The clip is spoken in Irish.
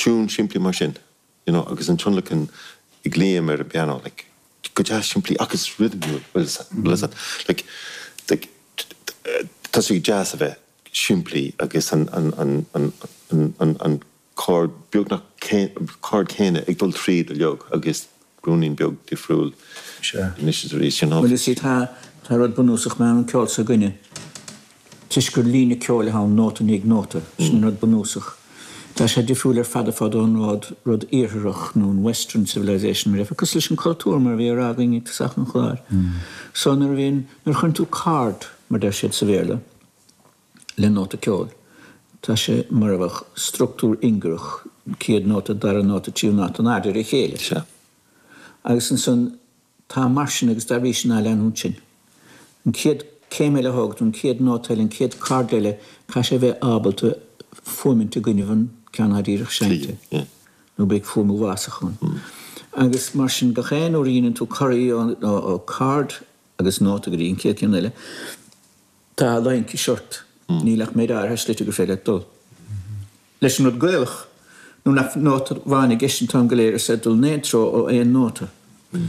Tiún simplí mar sin, you know, agus an tionlacan ag Liam ar an bpianó, like, go deas simplí agus rithimiúil, bhfuil fhios agat, like, like, tá sé deas a bheith simplí agus an, an, an, an, an, an, an chord, beagnach chord céanna ag dul tríd uilig agus ruainnín beag difriúil anois is arís, you know. Bhuel, you see, tá, tá rud bunúsach mar an ceol s'againne, toisc gur líne ceoil atá ann, nóta i ndiaidh nóta, sin an rud bunúsach. Tá sé difriúil ar fad ar fad ón rud, rud iartharach nó an western civilization mar a déarfá, cosúil leis an cultúr mar a bhí á rá againn ag tosach an chláir. So nuair a bhíonn, nuair a chuireann tú chord, mar deir siad sa Bhéarla, le nóta ceoil. Tá sé mar a bheadh struchtúr ingearach, céad nóta, dara nóta, tríú nóta, in airde ar a chéile. Sea. Agus ansan tá mar sin agus dá bhrí sin á leanúint sin. An chéad céim eile a thóg tú, an chéad nóta eile, an chéad chord eile, caithfidh sé a bheith ábalta fuaimint i gcoinnibh an ceann atá díreach seinnte. Nó beidh fuaim uafásach ann. Agus mar sin gach aon uair a dheineann tú corraí ó chord agus nóta go dtí an chéad cheann eile, Tá laincis ort. Níl ach méid áirithe slite gur féidir leat dul. Leis an rud Gaelach, nuair nach nóta amháin i gceist an t-am go léir is é dul in aon treo ó aon nóta. Ach.